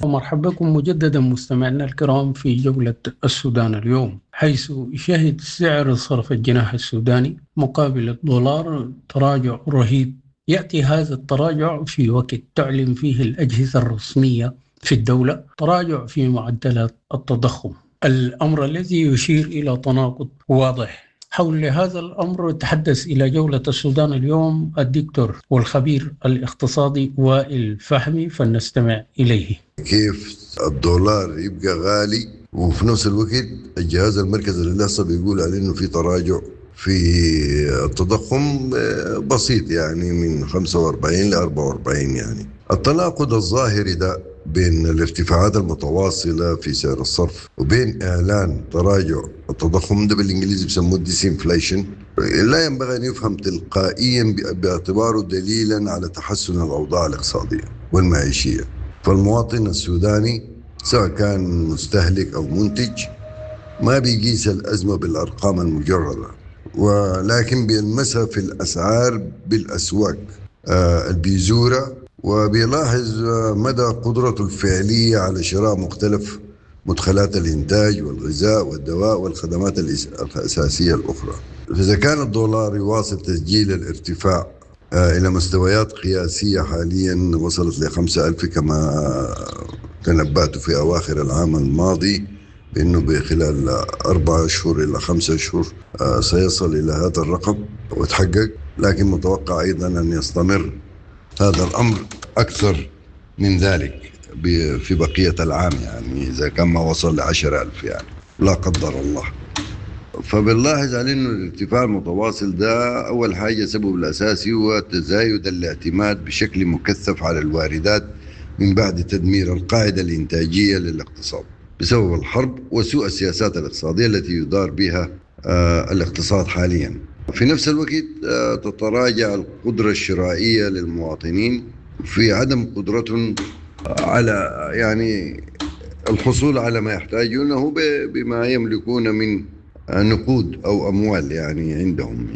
ومرحبا بكم مجددا مستمعينا الكرام في جولة السودان اليوم، حيث شهد سعر صرف الجنيه السوداني مقابل الدولار تراجع رهيب. يأتي هذا التراجع في وقت تعلن فيه الأجهزة الرسمية في الدولة تراجع في معدلات التضخم، الأمر الذي يشير إلى تناقض واضح. حول هذا الأمر تحدث إلى جولة السودان اليوم الدكتور والخبير الاقتصادي وائل فهمي، فلنستمع إليه. كيف الدولار يبقى غالي وفي نفس الوقت الجهاز المركزي للإحصاء بيقول عليه إنه في تراجع في التضخم بسيط، يعني من 45 ل 44. التناقض الظاهري ده بين الارتفاعات المتواصلة في سعر الصرف وبين إعلان تراجع التضخم ده بالإنجليزي بيسموه disinflation، لا ينبغي أن يفهم تلقائيا باعتباره دليلا على تحسن الأوضاع الاقتصادية والمعيشية. فالمواطن السوداني سواء كان مستهلك أو منتج ما بيقيس الأزمة بالأرقام المجردة، ولكن بيلمسها في الأسعار بالأسواق البيزورة، وبيلاحظ مدى قدرته الفعلية على شراء مختلف مدخلات الإنتاج والغذاء والدواء والخدمات الأساسية الأخرى. فإذا كان الدولار يواصل تسجيل الارتفاع إلى مستويات قياسية حاليا وصلت ل5,000 كما تنبأت في أواخر العام الماضي بأنه بخلال 4 أشهر إلى 5 أشهر سيصل إلى هذا الرقم وتحقق، لكن متوقع أيضا أن يستمر هذا الأمر أكثر من ذلك في بقية العام، إذا كان ما وصل ل10,000 لا قدر الله. فبنلاحظ على أنه الارتفاع المتواصل ده أول حاجة سبب الأساسي هو تزايد الاعتماد بشكل مكثف على الواردات من بعد تدمير القاعدة الإنتاجية للاقتصاد بسبب الحرب وسوء السياسات الاقتصادية التي يدار بها الاقتصاد حاليا. في نفس الوقت تتراجع القدرة الشرائية للمواطنين في عدم قدرتهم على الحصول على ما يحتاجونه بما يملكون من نقود أو أموال عندهم.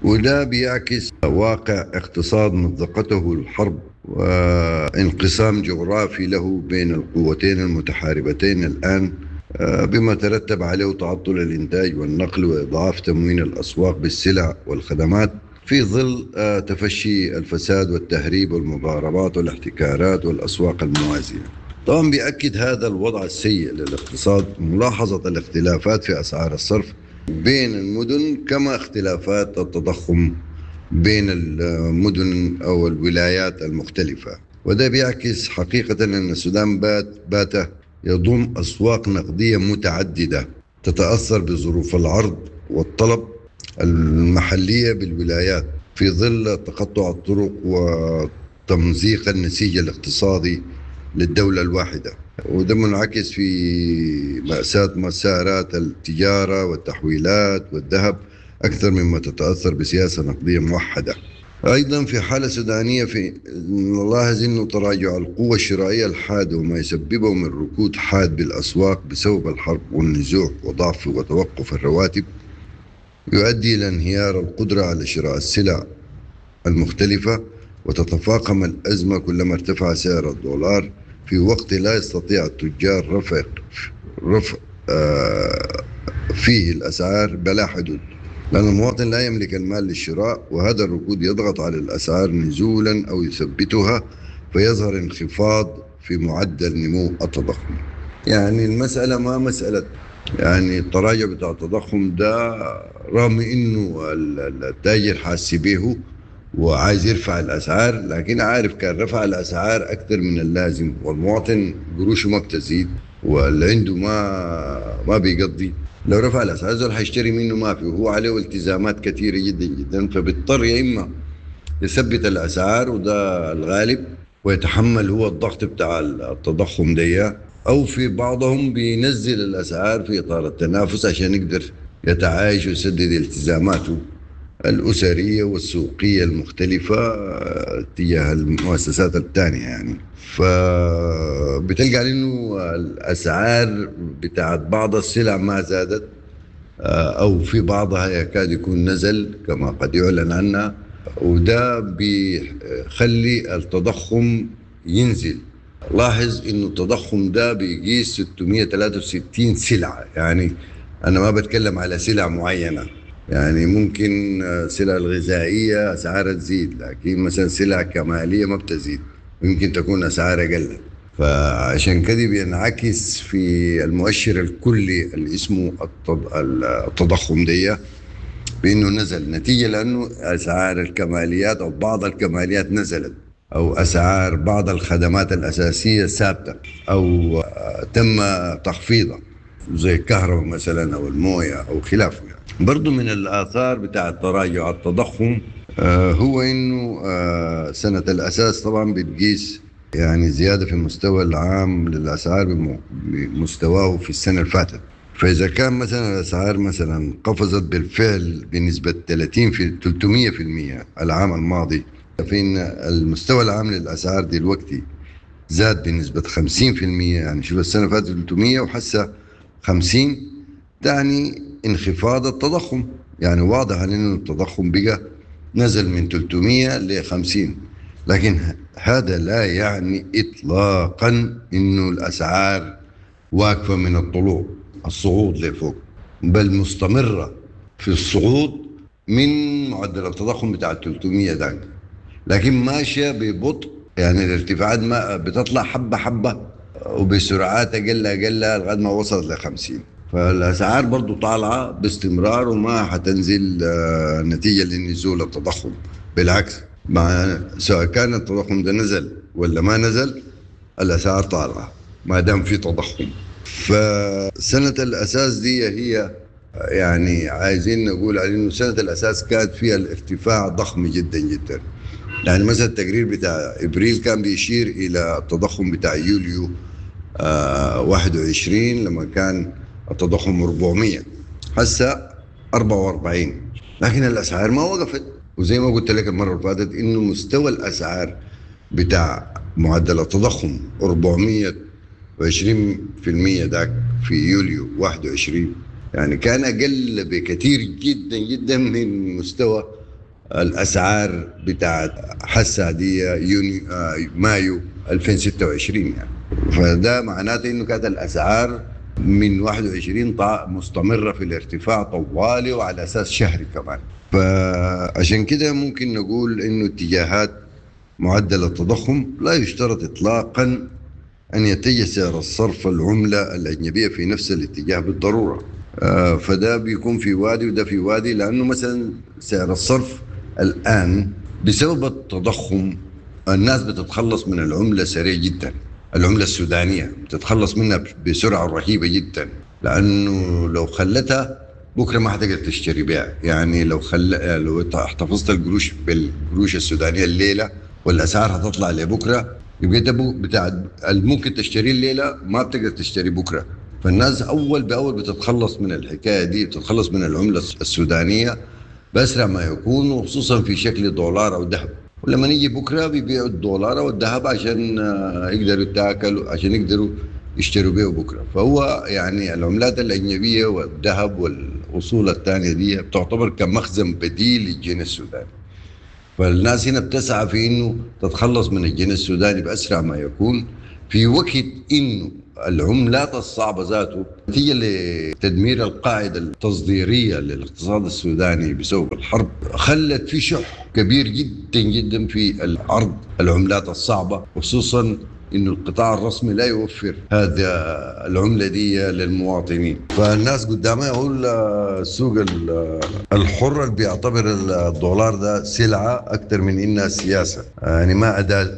وده بيعكس واقع اقتصاد مزقته الحرب وانقسام جغرافي له بين القوتين المتحاربتين الآن، بما ترتب عليه تعطل الإنتاج والنقل وإضعاف تموين الأسواق بالسلع والخدمات في ظل تفشي الفساد والتهريب والمضاربات والاحتكارات والأسواق الموازية. طبعا بيأكد هذا الوضع السيء للاقتصاد ملاحظة الاختلافات في أسعار الصرف بين المدن كما اختلافات التضخم بين المدن أو الولايات المختلفة، وده بيعكس حقيقة أن السودان بات يضم أسواق نقدية متعددة تتأثر بظروف العرض والطلب المحلية بالولايات في ظل تقطع الطرق وتمزيق النسيج الاقتصادي للدولة الواحدة، وده منعكس في مأساة مسارات التجارة والتحويلات والذهب أكثر مما تتأثر بسياسة نقدية موحدة. أيضا في حالة سودانية نلاحظ أنه تراجع القوة الشرائية الحاد وما يسببه من ركود حاد بالأسواق بسبب الحرب والنزوح وضعف وتوقف الرواتب يؤدي إلى انهيار القدرة على شراء السلع المختلفة، وتتفاقم الأزمة كلما ارتفع سعر الدولار في وقت لا يستطيع التجار رفع فيه الأسعار بلا حدود، لأن المواطن لا يملك المال للشراء، وهذا الركود يضغط على الأسعار نزولا أو يثبتها، فيظهر انخفاض في معدل نمو التضخم. المسألة ما مسألة التراجع بتاع التضخم ده، رغم إنه التاجر حاسس به وعايز يرفع الأسعار، لكن عارف كان رفع الأسعار أكثر من اللازم والمواطن قروشه ما بتزيد واللي عنده ما بيقضي، لو رفع الأسعار زول حيشتري منه ما في، وهو عليه التزامات كثيرة جدا جدا، فبيضطر يا إما يثبت الأسعار وده الغالب ويتحمل هو الضغط بتاع التضخم ده، أو في بعضهم بينزل الأسعار في إطار التنافس عشان يقدر يتعايش ويسدد التزاماته الأسرية والسوقية المختلفة تجاه المؤسسات الثانية. فبتلقى على إنه الأسعار بتاعت بعض السلع ما زادت، أو في بعضها يكاد يكون نزل كما قد يعلن عنها، وده بيخلي التضخم ينزل. لاحظ انه التضخم ده بيقيس 663 سلعه، يعني انا ما بتكلم على سلع معينة، يعني ممكن السلع الغذائية اسعارها تزيد، لكن مثلا سلع كماليه ما بتزيد، يمكن تكون اسعارها اقل. فعشان كده بينعكس في المؤشر الكلي اللي اسمه التضخم دي بانه نزل، نتيجة لانه اسعار الكماليات او بعض الكماليات نزلت، او اسعار بعض الخدمات الاساسية ثابتة او تم تخفيضها زي الكهرباء مثلا او المويه او خلافه. يعني برضو من الاثار بتاع تراجع التضخم هو انه سنة الاساس طبعا بتقيس يعني زيادة في المستوى العام للاسعار بمستواه في السنة اللي فاتت. فاذا كان مثلا الاسعار مثلا قفزت بالفعل بنسبة 30 في 300% العام الماضي، فإن المستوى العام للأسعار دلوقتي زاد بنسبة 50%. يعني شوف السنة فاتت 300 وحسه 50، تعني انخفاض التضخم. يعني واضح أن التضخم بقى نزل من 300 ل 50، لكن هذا لا يعني إطلاقا إنه الأسعار واقفة من الطلوع الصعود لفوق، بل مستمرة في الصعود من معدل التضخم بتاع 300 ده، لكن ماشية ببطء. يعني الارتفاعات ما بتطلع حبه حبه وبسرعات اقل اقل لغاية ما وصلت ل 50. فالاسعار برضو طالعه باستمرار وما حتنزل نتيجة لنزول التضخم، بالعكس مع سواء كان التضخم ده نزل ولا ما نزل الاسعار طالعه ما دام في تضخم. فسنة الاساس دي هي يعني عايزين نقول على انه سنة الاساس كانت فيها الارتفاع ضخم جدا جدا. يعني مثلا التقرير بتاع ابريل كان بيشير الى التضخم بتاع يوليو 21 لما كان التضخم 400، هسه 44، لكن الاسعار ما وقفت. وزي ما قلت لك المرة اللي فاتت انه مستوى الاسعار بتاع معدل التضخم 420% ذاك في يوليو 21 يعني كان اقل بكثير جدا جدا من مستوى الاسعار بتاعت حسا دي يونيو مايو 2026 يعني. فده معناته انه كانت الاسعار من 21 مستمرة في الارتفاع طوالي وعلى اساس شهري كمان. فعشان كده ممكن نقول انه اتجاهات معدل التضخم لا يشترط اطلاقا ان يتجه سعر الصرف العملة الاجنبية في نفس الاتجاه بالضرورة. فده بيكون في وادي وده في وادي، لانه مثلا سعر الصرف الان بسبب التضخم الناس بتتخلص من العملة سريع جدا، العملة السودانية بتتخلص منها بسرعة رهيبة جدا، لانه لو خلتها بكره ما حتقدر تشتري بها. يعني لو احتفظت القروش بالقروش السودانية الليلة والاسعار هتطلع لبكرة، يبقى انت بتاع ممكن تشتري الليلة ما بتقدر تشتري بكره. فالناس اول باول بتتخلص من الحكاية دي، بتتخلص من العملة السودانية باسرع ما يكون، وخصوصا في شكل دولار او ذهب. ولما نيجي بكره بيبيعوا الدولار او الذهب عشان يقدروا يتاكلوا، عشان يقدروا يشتروا بيه بكره. فهو يعني العملات الاجنبية والذهب والاصول الثانية دي بتعتبر كمخزن بديل للجنيه السوداني. فالناس هنا بتسعى في انه تتخلص من الجنيه السوداني باسرع ما يكون، في وقت انه العملات الصعبة ذاته نتيجة لتدمير القاعدة التصديرية للاقتصاد السوداني بسبب الحرب خلت في شح كبير جدا جدا في العرض العملات الصعبة، خصوصا انه القطاع الرسمي لا يوفر هذا العملة دي للمواطنين. فالناس قدامها يقول السوق الحر اللي بيعتبر الدولار ده سلعه اكثر من انها سياسة، يعني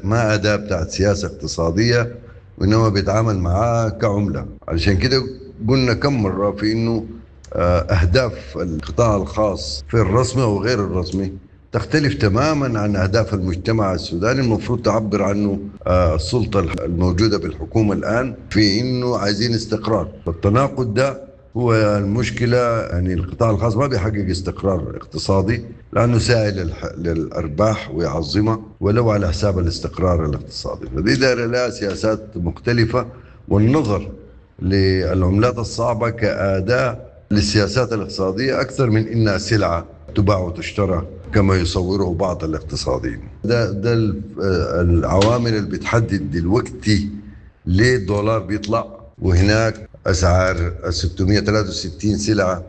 ما اداه بتاعت سياسة اقتصادية، وانما بيتعامل معاه كعمله. علشان كده قلنا كم مرة في انه اهداف القطاع الخاص في الرسمي وغير الرسمي تختلف تماما عن اهداف المجتمع السوداني المفروض تعبر عنه السلطة الموجودة بالحكومة الان في انه عايزين استقرار. فالتناقض ده هو المشكلة. يعني القطاع الخاص ما بيحقق استقرار اقتصادي لانه ساعي للارباح ويعظمها ولو على حساب الاستقرار الاقتصادي. فدي دايرة لها سياسات مختلفة، والنظر للعملات الصعبة كاداة للسياسات الاقتصادية اكثر من انها سلعه تباع وتشترى كما يصوره بعض الاقتصاديين. ده العوامل اللي بتحدد دلوقتي ليه الدولار بيطلع، وهناك اسعار 663 سلعه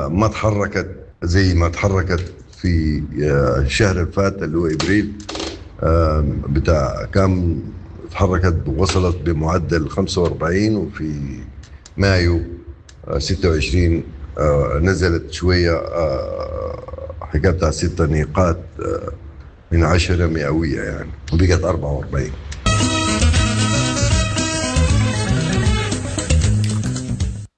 ما تحركت زي ما تحركت في الشهر الفات اللي هو ابريل بتاع كام تحركت، وصلت بمعدل 45، وفي مايو 26 نزلت شوية، حكاية بتاع 6 نقاط من 10 مئوية يعني، وبقت 44.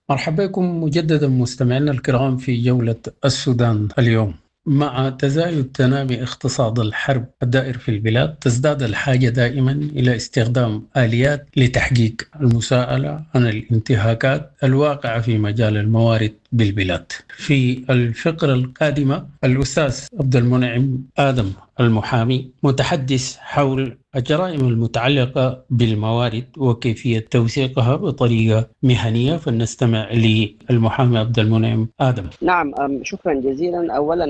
مرحبا بكم مجددا مستمعينا الكرام في جولة السودان اليوم. مع تزايد تنامي اقتصاد الحرب الدائر في البلاد، تزداد الحاجة دائما إلى استخدام آليات لتحقيق المساءلة عن الانتهاكات الواقعة في مجال الموارد بالبلاد. في الفقرة القادمة الأستاذ عبد المنعم آدم المحامي متحدث حول الجرائم المتعلقة بالموارد وكيفية توثيقها بطريقة مهنية، فلنستمع للمحامي عبد المنعم آدم. نعم، شكرا جزيلا. أولا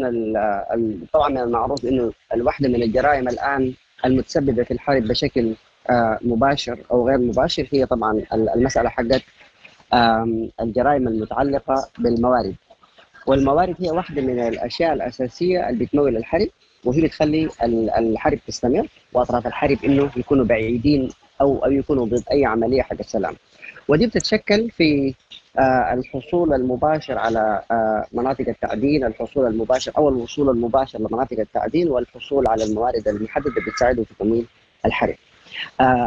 طبعا من المعروف أنه الواحدة من الجرائم الآن المتسببة في الحرب بشكل مباشر أو غير مباشر هي طبعا المسألة حقت الجرائم المتعلقة بالموارد. والموارد هي واحدة من الأشياء الأساسية اللي بتمول الحرب، وهي بتخلي الحرب تستمر، وأطراف الحرب إنه يكونوا بعيدين أو يكونوا ضد أي عملية حق السلام. ودي بتتشكل في الحصول المباشر على مناطق التعدين، الحصول المباشر أو الوصول المباشر لمناطق التعدين، والحصول على الموارد المحددة بتساعده في تمويل الحرب.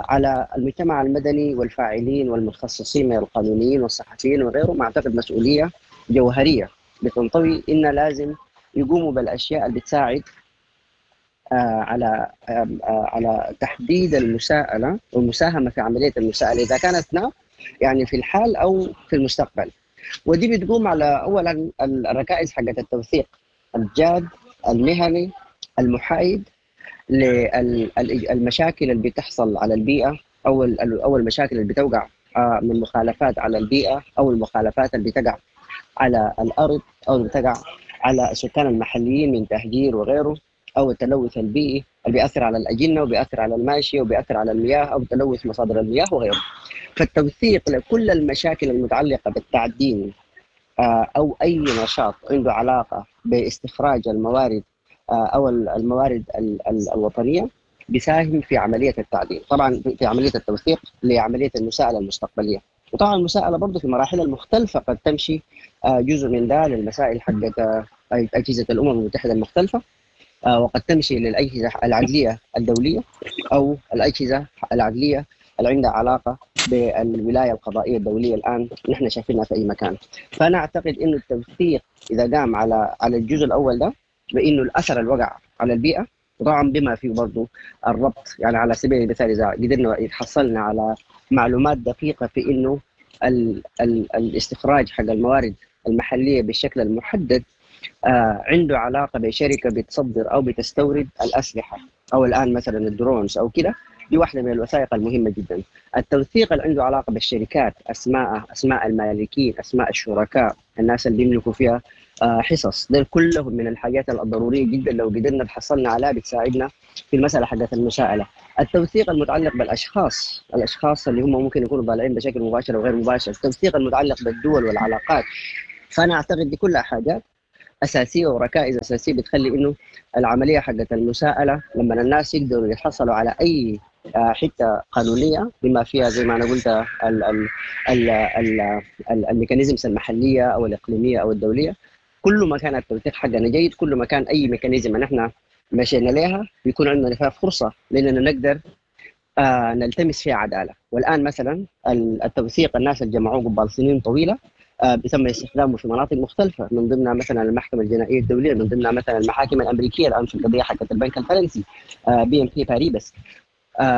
على المجتمع المدني والفاعلين والمتخصصين من القانونيين والصحفيين وغيرهم أعتقد مسؤولية جوهرية بتنطوي إن لازم يقوموا بالأشياء اللي بتساعد على تحديد المساءلة والمساهمة في عملية المساءلة إذا كانت نعم يعني في الحال أو في المستقبل. ودي بتقوم على أولا الركائز حقت التوثيق الجاد المهني المحايد للمشاكل اللي بتحصل على البيئة أو المشاكل اللي بتوقع من مخالفات على البيئة أو المخالفات اللي بتقع على الأرض أو اللي بتقع على السكان المحليين من تهجير وغيره، أو التلوث البيئي اللي بيأثر على الأجنة وبيأثر على الماشية وبيأثر على المياه أو تلوث مصادر المياه وغيره. فالتوثيق لكل المشاكل المتعلقة بالتعدين أو أي نشاط عنده علاقة باستخراج الموارد أو الموارد الوطنية بيساهم في عملية التعدين، طبعا في عملية التوثيق لعملية المساءلة المستقبلية. وطبعا المساءلة برضه في مراحلها المختلفة قد تمشي جزء من ده للمسائل حقت أجهزة الأمم المتحدة المختلفة، وقد تمشي للأجهزة العدلية الدولية أو الأجهزة العدلية اللي عندها علاقة بالولاية القضائية الدولية الآن نحن شايفينها في أي مكان. فأنا أعتقد إنه التوثيق إذا قام على الجزء الأول ده بإنه الأثر الوقع على البيئة، وطبعا بما فيه برضه الربط، يعني على سبيل المثال إذا قدرنا حصلنا على معلومات دقيقة في إنه الاستخراج حق الموارد المحلية بالشكل المحدد عنده علاقة بشركة بتصدر أو بتستورد الأسلحة أو الآن مثلا الدرونز أو كده، دي واحدة من الوثائق المهمة جدا. التوثيق اللي عنده علاقة بالشركات، أسماء المالكين، أسماء الشركاء، الناس اللي بيملكوا فيها حصص، ده كلهم من الحاجات الضرورية جدا لو قدرنا تحصلنا عليها بتساعدنا في المسألة حقت المساءلة. التوثيق المتعلق بالأشخاص، الأشخاص اللي هم ممكن يكونوا ضالعين بشكل مباشر وغير مباشر، التوثيق المتعلق بالدول والعلاقات. فأنا أعتقد دي كلها حاجات أساسية وركائز أساسية بتخلي إنه العملية حقت المساءلة لما الناس يقدروا يحصلوا على أي حتة قانونية بما فيها زي ما أنا قلت ال mechanisms المحلية أو الإقليمية أو الدولية، كل ما كان التوثيق حقنا جيد، كل ما كان أي mechanism نحن مشينا لها بيكون عندنا فيها فرصة لأننا نقدر نلتمس فيها عدالة. والآن مثلا التوثيق الناس اللي جمعوه قبل سنين طويلة بيتم استخدامه في مناطق مختلفة، من ضمنها مثلا المحكمة الجنائية الدولية، من ضمنها مثلا المحاكم الأمريكية الآن في القضية حقت البنك الفرنسي BNP Paribas.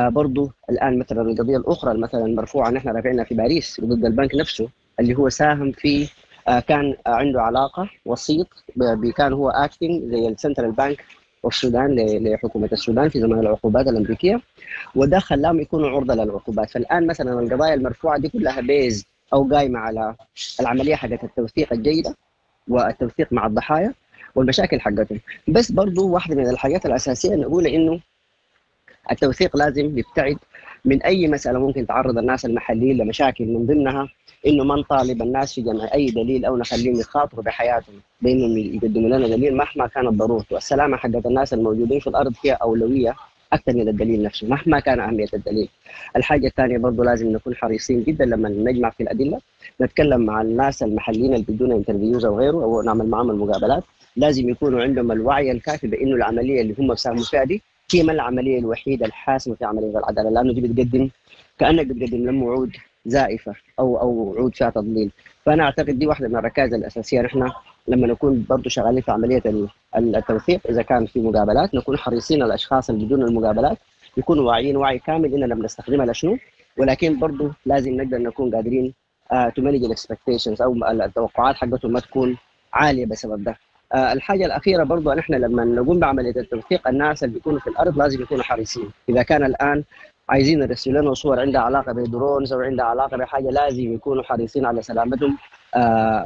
برضو الآن مثلا القضية الأخرى مثلا المرفوعة نحن رافعينها في باريس ضد البنك نفسه اللي هو ساهم في كان عنده علاقة وسيط، كان هو acting زي ال central bank والسودان لحكومة السودان في زمن العقوبات الأمريكية، وده خلاهم يكونوا عرضة للعقوبات. فالآن مثلا القضايا المرفوعة دي كلها based أو قايمة على العملية حقت التوثيق الجيدة والتوثيق مع الضحايا والمشاكل حقتهم. بس برضو واحدة من الحاجات الاساسية نقول انه التوثيق لازم يبتعد من اي مسالة ممكن تعرض الناس المحليين لمشاكل، من ضمنها انه ما نطالب الناس في جمع اي دليل او نخليهم يخاطروا بحياتهم بانهم يقدموا لنا دليل مهما كانت ضرورته. السلامة حقت الناس الموجودين في الارض هي اولوية اكثر من الدليل نفسه مهما كان اهمية الدليل. الحاجة الثانية برضه لازم نكون حريصين جدا لما نجمع في الادلة، نتكلم مع الناس المحليين اللي بيدونا interviews او غيره او نعمل معهم المقابلات، لازم يكونوا عندهم الوعي الكافي بانه العملية اللي هم ساهموا فيها دي هي ما العملية الوحيدة الحاسمة في عملية العدالة، لانه دي بتقدم كانك بتقدم لهم وعود زائفة او وعود فيها تضليل. فانا اعتقد دي واحدة من الركائز الاساسية. نحن لما نكون برضه شغالين في عملية التوثيق، اذا كان في مقابلات نكون حريصين الاشخاص اللي بدون المقابلات يكونوا واعيين وعي كامل اننا بنستخدمها لشنو، ولكن برضه لازم نقدر نكون قادرين to manage ال expectations او التوقعات حقتهم ما تكون عالية بسبب ده. الحاجة الاخيرة برضه نحن لما نقوم بعملية التوثيق، الناس اللي بيكونوا في الارض لازم يكونوا حريصين. اذا كان الان عايزين يرسلوا لنا صور عندها علاقة ب drones او عندها علاقة بحاجة، لازم يكونوا حريصين على سلامتهم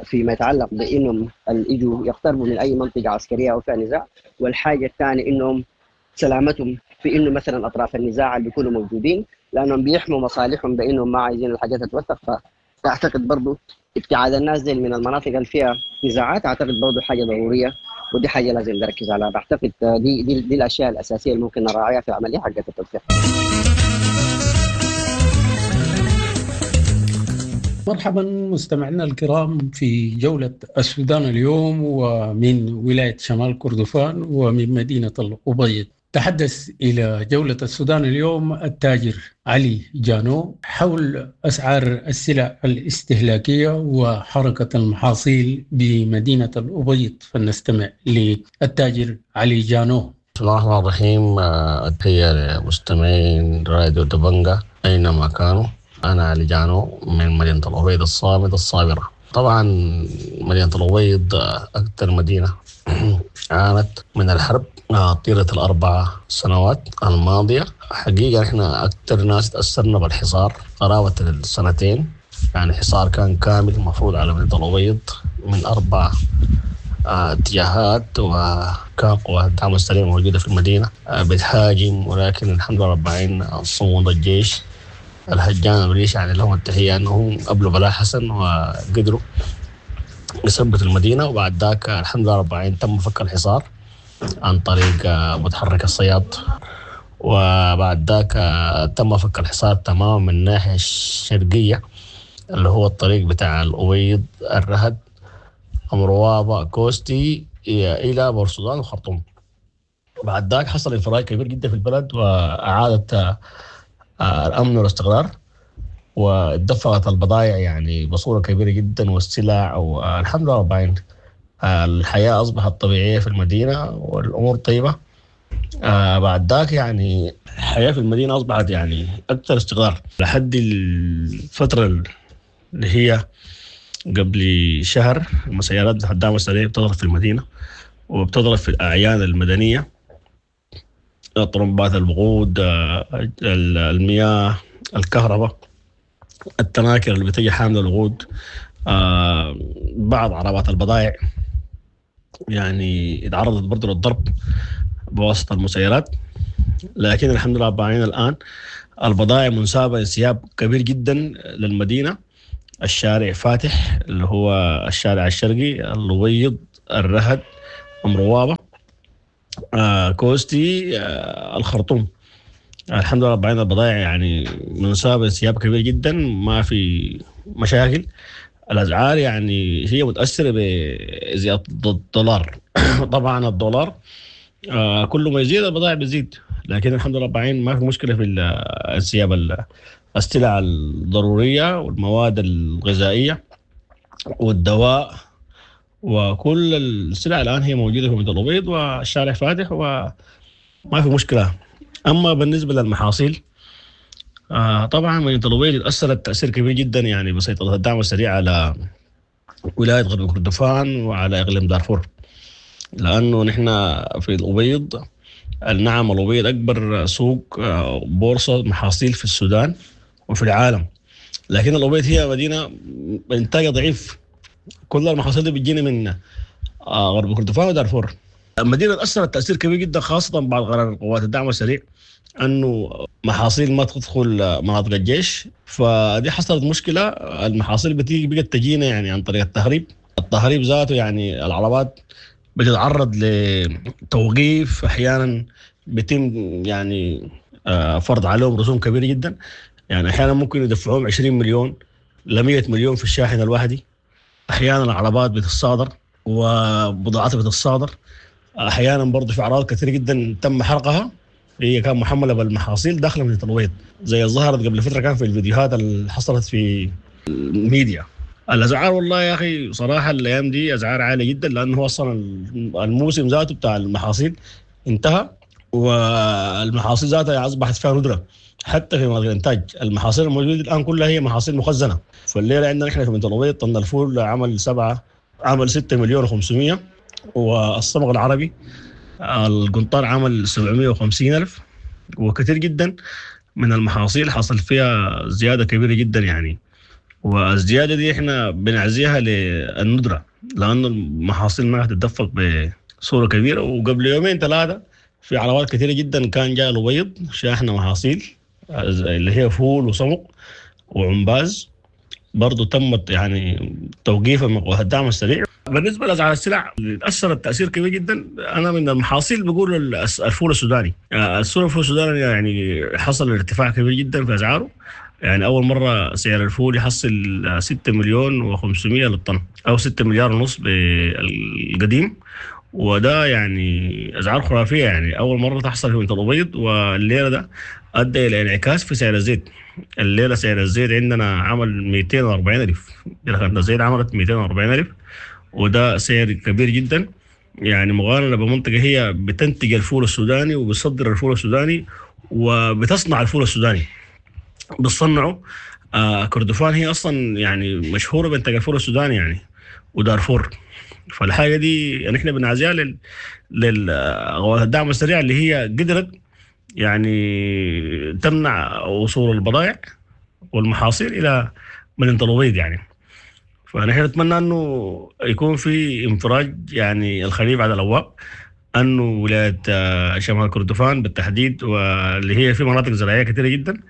فيما يتعلق بانهم يجوا يقتربوا من اي منطقة عسكرية او فيها نزاع. والحاجة الثانية انهم سلامتهم في انه مثلا اطراف النزاع اللي بيكونوا موجودين، لانهم بيحموا مصالحهم بانهم ما عايزين الحاجات تتوثق. فاعتقد برضه ابتعاد الناس دي من المناطق اللي فيها نزاعات اعتقد برضه حاجة ضرورية، ودي حاجة لازم نركز عليها. بعتقد دي دي, دي الاشياء الاساسية اللي ممكن نراعيها في العملية حقت التوثيق. مرحبا مستمعينا الكرام في جولة السودان اليوم، ومن ولاية شمال كردفان ومن مدينة الأبيض. تحدث إلى جولة السودان اليوم التاجر علي جانو حول أسعار السلع الاستهلاكية وحركة المحاصيل بمدينة الأبيض، فلنستمع للتاجر علي جانو. بسم الله الرحمن الرحيم. التحية لمستمعين راديو دبنجة أينما كانوا. أنا علي جانو من مدينة الأبيض الصامدة الصابرة. طبعا مدينة الأبيض أكثر مدينة عانت من الحرب طيلة ال4 سنوات الماضية. حقيقة إحنا أكثر ناس تأثرنا بالحصار قرابة السنتين، يعني حصار كان كامل مفروض على مدينة الأبيض من 4 اتجاهات، وكان قوات الدعم السريع موجودة في المدينة بتهاجم، ولكن الحمد لله رب العالمين صمود الجيش الهجان الريش يعني لهم التحية أنهم قبلوا بلاء حسن وقدروا يثبتوا المدينة. وبعد ذاك الحمد لله رب العالمين تم فك الحصار عن طريق متحرك الصياد، وبعد ذاك تم فك الحصار تماما من الناحية الشرقية اللي هو الطريق بتاع الأبيض الرهد أمروابة كوستي إلى بورسودان وخرطوم. بعد ذاك حصل انفراج كبير جدا في البلد وأعادت الأمن والاستقرار، واتدفقت البضائع يعني بصورة كبيرة جدا والسلع، والحمد لله رب العالمين الحياة أصبحت طبيعية في المدينة والأمور طيبة. بعد ذاك يعني الحياة في المدينة أصبحت يعني أكثر استقرار لحد الفترة اللي هي قبل شهر. المسيرات الدعم السريع بتضرب في المدينة وبتضرب في الأعيان المدنية، طرمبات الوقود، المياه، الكهرباء، التناكر اللي بتجي حاملة الوقود، بعض عربات البضائع يعني اتعرضت برضه للضرب بواسطة المسيرات. لكن الحمد لله رب العالمين الآن البضائع منسابة انسياب كبير جدا للمدينة. الشارع فاتح اللي هو الشارع الشرقي الأبيض الرهد أمروابة كوستي الخرطوم. الحمد لله رب العالمين البضائع يعني منسابة انسياب كبير جدا، ما في مشاكل. الأسعار يعني هي متأثرة بزيادة الدولار. طبعا الدولار كل ما يزيد البضائع بتزيد، لكن الحمد لله رب العالمين ما في مشكلة في انسياب السلع الضرورية والمواد الغذائية والدواء وكل السلع الآن هي موجودة في مدينة الأبيض والشارع فاتح وما في مشكلة. أما بالنسبة للمحاصيل طبعا مدينة الأبيض تأثرت تأثير كبير جدا يعني بسيطرة الدعم السريع على ولاية غرب كردفان وعلى إقليم دارفور، لأنه نحن في الأبيض النعم الأبيض أكبر سوق بورصة محاصيل في السودان وفي العالم، لكن الأبيض هي مدينة إنتاجها ضعيف، كل المحاصيل دي بتجينا من غرب كردفان ودارفور. المدينة تاثرت تاثير كبير جدا، خاصة بعد قرار قوات الدعم السريع انه محاصيل ما تدخل مناطق الجيش، فدي حصلت مشكلة. المحاصيل بتيجي بقت تجينا يعني عن طريق التهريب، التهريب ذاته يعني العربات بتتعرض لتوقيف، احيانا بيتم يعني فرض عليهم رسوم كبيرة جدا، يعني احيانا ممكن يدفعوهم 20 مليون ل 100 مليون في الشاحنة الواحدة. احيانا العربات بتتصادر وبضاعتها بتتصادر، احيانا برضه في اعراض كثيرة جدا تم حرقها، هي كان محمله بالمحاصيل داخله من التلويط زي ظهرت قبل فترة كان في الفيديوهات اللي حصلت في الميديا. الاسعار والله يا اخي صراحة الايام دي اسعار عالية جدا، لانه هو اصلا الموسم ذاته بتاع المحاصيل انتهى، والمحاصيل ذاتها اصبحت فيها ندره حتى في مناطق الانتاج. المحاصيل الموجودة الان كلها هي محاصيل مخزنة. فالليله عندنا احنا في منطقة طن الفول عمل 7 عمل 6 مليون و500، والصمغ العربي القنطار عمل 750 ألف، وكثير جدا من المحاصيل حصل فيها زيادة كبيرة جدا يعني. والزيادة دي احنا بنعزيها للندرة، لأنه المحاصيل ما هتتدفق بصورة كبيرة. وقبل يومين ثلاثة في عربات كثيرة جدا كان جاء الأبيض شاحنة محاصيل اللي هي فول وصمغ وعمباز، برضو تمت يعني توقيفها من قوات الدعم السريع. بالنسبة لاسعار السلع اللي تاثرت تاثير كبير جدا، انا من المحاصيل بقول الفول السوداني. الفول السوداني يعني حصل ارتفاع كبير جدا في اسعاره، يعني اول مرة سعر الفول يحصل 6 مليون و500 للطن او 6 مليار ونص بالقديم، وده يعني اسعار خرافية، يعني اول مرة تحصل في منطقة الابيض. والليلة ده ادى الى انعكاس في سعر الزيت. الليلة سعر الزيت عندنا عمل 240 الف، الزيت عملت 240 الف، وده سعر كبير جدا يعني مقارنة بمنطقة هي بتنتج الفول السوداني وبتصدر الفول السوداني وبتصنع الفول السوداني، بتصنعه. كردفان هي اصلا يعني مشهورة بانتاج الفول السوداني يعني، ودارفور. فالحاجه دي نحن بنعزيها للقوات الدعم السريع اللي هي قدرت يعني تمنع وصول البضائع والمحاصيل الى مدينة الابيض يعني. فنحن نتمنى انه يكون في انفراج يعني الخريف على الابواب، انه ولاية شمال كردفان بالتحديد واللي هي في مناطق زراعية كثيرة جدا،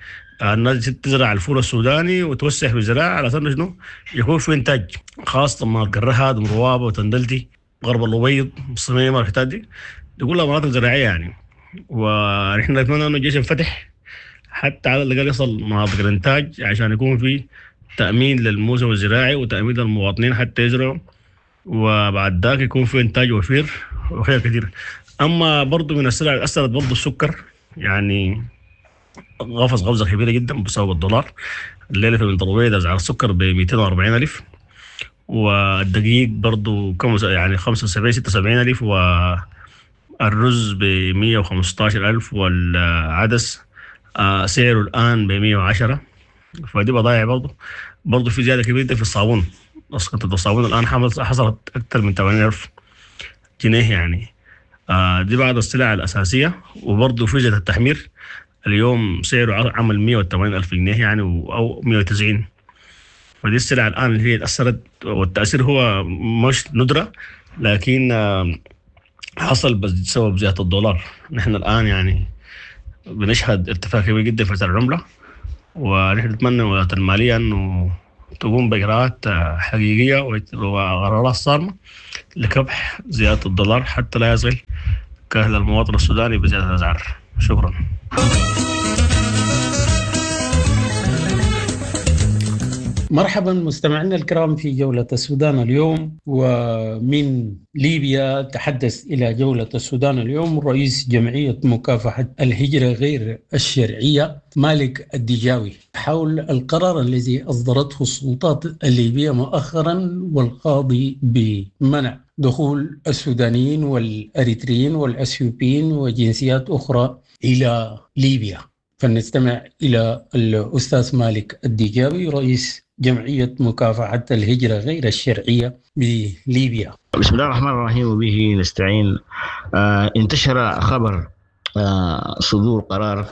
الناس تزرع الفول السوداني وتوسع في الزراعة على اساس شنو يكون في انتاج، خاصة مناطق الرهد ومروابه وتندلتي غرب الابيض الصميمه والحتات دي كلها مناطق زراعية يعني. ونحن نتمنى انه الجيش ينفتح حتى على الاقل يصل مناطق الانتاج عشان يكون في تامين للموسم الزراعي وتامين للمواطنين حتى يزرعوا، وبعد ذاك يكون في انتاج وفير وخير كثير. اما برضو من السلع اللي اثرت برضو السكر، يعني قفز قفزه كبيرة جدا بسبب الدولار. الليلة في المنطقة اسعار السكر ب 240 الف، والدقيق برضو كم يعني 75 76 الف، والرز ب 115 الف، والعدس سعره الان ب 110. فدي بضائع برضو في زيادة كبيرة في الصابون. قطعه الصابون الان حصلت اكثر من 80,000 جنيه يعني. دي بعض السلع الاساسية. وبرضو في زيادة التحمير اليوم سعره عمل 180,000 جنيه يعني او 190. فدي السلع الان اللي هي تاثرت، والتاثير هو مش ندره لكن حصل بسبب زيادة الدولار. نحن الان يعني بنشهد ارتفاع كبير جدا في سعر العملة، ونحن نتمنى من وزارة المالية انه تقوم باجراءات حقيقية وقرارات صارمة لكبح زيادة الدولار حتى لا يصل كاهل المواطن السوداني بزيادة الاسعار. شكرا. مرحبا مستمعينا الكرام في جولة السودان اليوم. ومن ليبيا تحدث إلى جولة السودان اليوم رئيس جمعية مكافحة الهجرة غير الشرعية مالك الدجاوي حول القرار الذي أصدرته السلطات الليبية مؤخرا والقاضي بمنع دخول السودانيين والأريتريين والأثيوبيين وجنسيات أخرى إلى ليبيا. فلنستمع إلى الأستاذ مالك الدجاوي رئيس جمعية مكافحة الهجرة غير الشرعية بليبيا. بسم الله الرحمن الرحيم وبه نستعين. انتشر خبر صدور قرار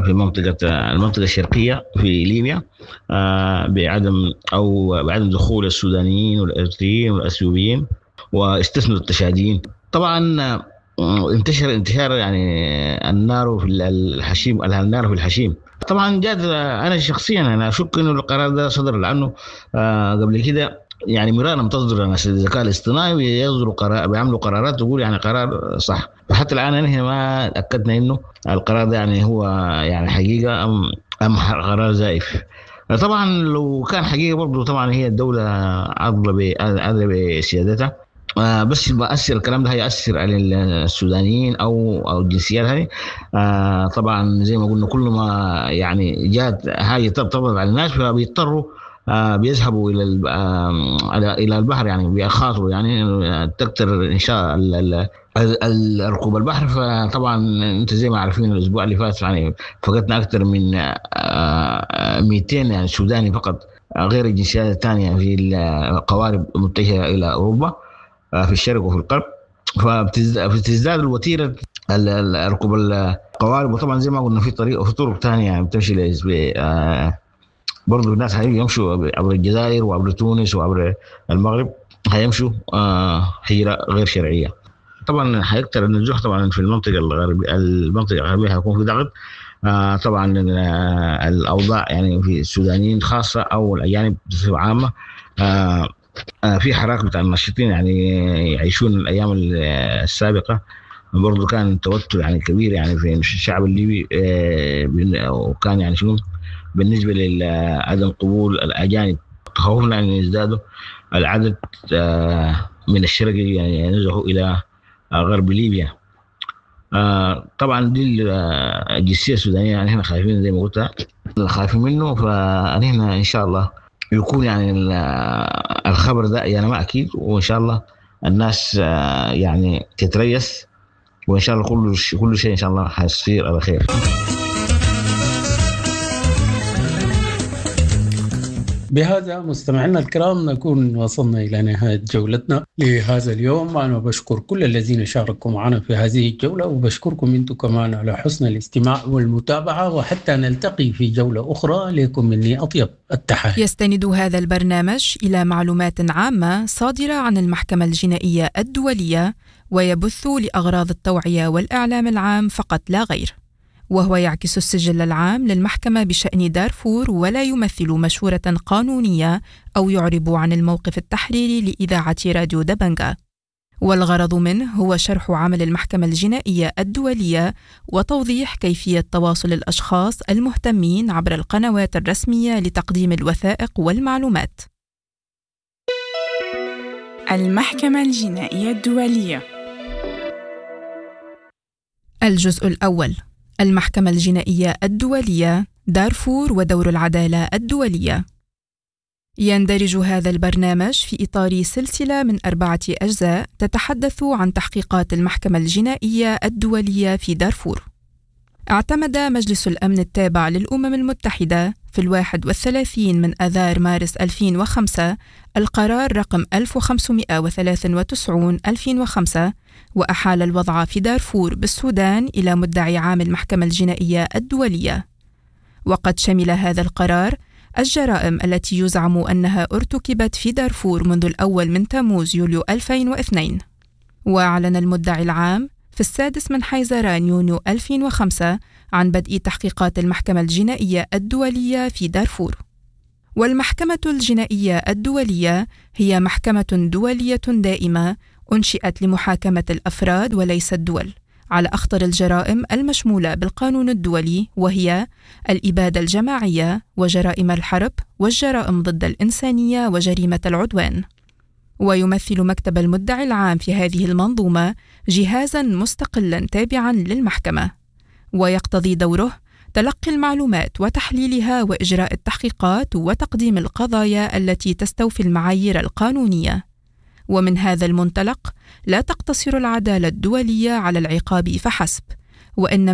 في المنطقة الشرقية في ليبيا بعدم دخول السودانيين والأريتريين والأثيوبيين واستثنوا التشاديين. طبعا انتشر انتشار يعني النار في الحشيم، النار في الحشيم. طبعا جات، انا شخصيا انا اشك انه القرار ده صدر، لانه قبل كده يعني مرارا تصدر ناس الذكاء الاصطناعي ويصدروا قرار، بيعملوا قرارات تقول يعني قرار صح. فحتى الان نحن ما تاكدنا انه القرار ده يعني هو يعني حقيقة ام قرار زائف. طبعا لو كان حقيقة برضه طبعا هي الدولة عادلة بسيادتها، بس بأثر الكلام ده هيأثر على السودانيين او الجنسيات هذه. طبعا زي ما قلنا كل ما يعني جات حاجة تطبق على الناس فبيضطروا بيذهبوا الى البحر، يعني بيخاطروا يعني تكثر انشاء ركوب البحر. فطبعا انت زي ما عارفين الاسبوع اللي فات يعني فقدنا اكثر من 200 يعني سوداني فقط غير الجنسيات الثانية في القوارب المتجهه الى اوروبا في الشرق وفي الغرب. فبتزداد الوتيره ركوب القوارب. وطبعا زي ما قلنا في طريق وفي طرق ثانية يعني بتمشي برضه الناس هيمشوا عبر الجزائر وعبر تونس وعبر المغرب، هيمشوا هجرة غير شرعية. طبعا هيكثر النزوح طبعا في المنطقة الغربية، المنطقة الغربية هيكون في ضغط. طبعا الأوضاع يعني في السودانيين خاصة أو الأجانب بصفة عامة، في حراك بتاع الناشطين يعني يعيشون الأيام السابقة. برضه كان توتر يعني كبير يعني في الشعب الليبي، وكان يعني شنو بالنسبة لعدم قبول الأجانب. تخوفنا أن يزدادوا العدد من الشرق يعني ينزحوا إلى غرب ليبيا. طبعا دي الجنسية السودانية يعني احنا خايفين زي ما قلت خايفين منه. فنحن إن شاء الله يكون يعني الخبر ده يعني ما أكيد، وإن شاء الله الناس يعني تتريث، وإن شاء الله كل شيء إن شاء الله حيصير على خير. بهذا مستمعينا الكرام نكون وصلنا إلى نهاية جولتنا لهذا اليوم. أنا بشكر كل الذين شاركوا معنا في هذه الجولة، وبشكركم أنتم كمان على حسن الاستماع والمتابعة، وحتى نلتقي في جولة أخرى. لكم مني أطيب التحايا. يستند هذا البرنامج إلى معلومات عامة صادرة عن المحكمة الجنائية الدولية، ويبث لأغراض التوعية والإعلام العام فقط لا غير، وهو يعكس السجل العام للمحكمة بشأن دارفور، ولا يمثل مشورة قانونية أو يعرب عن الموقف التحريري لإذاعة راديو دبنجا. والغرض منه هو شرح عمل المحكمة الجنائية الدولية وتوضيح كيفية تواصل الأشخاص المهتمين عبر القنوات الرسمية لتقديم الوثائق والمعلومات. المحكمة الجنائية الدولية. الجزء الأول: المحكمة الجنائية الدولية، دارفور ودور العدالة الدولية. يندرج هذا البرنامج في إطار سلسلة من 4 أجزاء تتحدث عن تحقيقات المحكمة الجنائية الدولية في دارفور. اعتمد مجلس الأمن التابع للأمم المتحدة في 31 من آذار مارس 2005 القرار رقم 1593-2005، وأحال الوضع في دارفور بالسودان إلى مدعي عام المحكمة الجنائية الدولية. وقد شمل هذا القرار الجرائم التي يزعم أنها ارتكبت في دارفور منذ الأول من تموز يوليو 2002. وأعلن المدعي العام في 6 من حزيران يونيو 2005 عن بدء تحقيقات المحكمة الجنائية الدولية في دارفور. والمحكمة الجنائية الدولية هي محكمة دولية دائمة أنشئت لمحاكمة الأفراد وليس الدول على أخطر الجرائم المشمولة بالقانون الدولي، وهي الإبادة الجماعية وجرائم الحرب والجرائم ضد الإنسانية وجريمة العدوان. ويمثل مكتب المدعي العام في هذه المنظومة جهازاً مستقلاً تابعاً للمحكمة، ويقتضي دوره تلقي المعلومات وتحليلها وإجراء التحقيقات وتقديم القضايا التي تستوفي المعايير القانونية. ومن هذا المنطلق لا تقتصر العدالة الدولية على العقاب فحسب، وإنما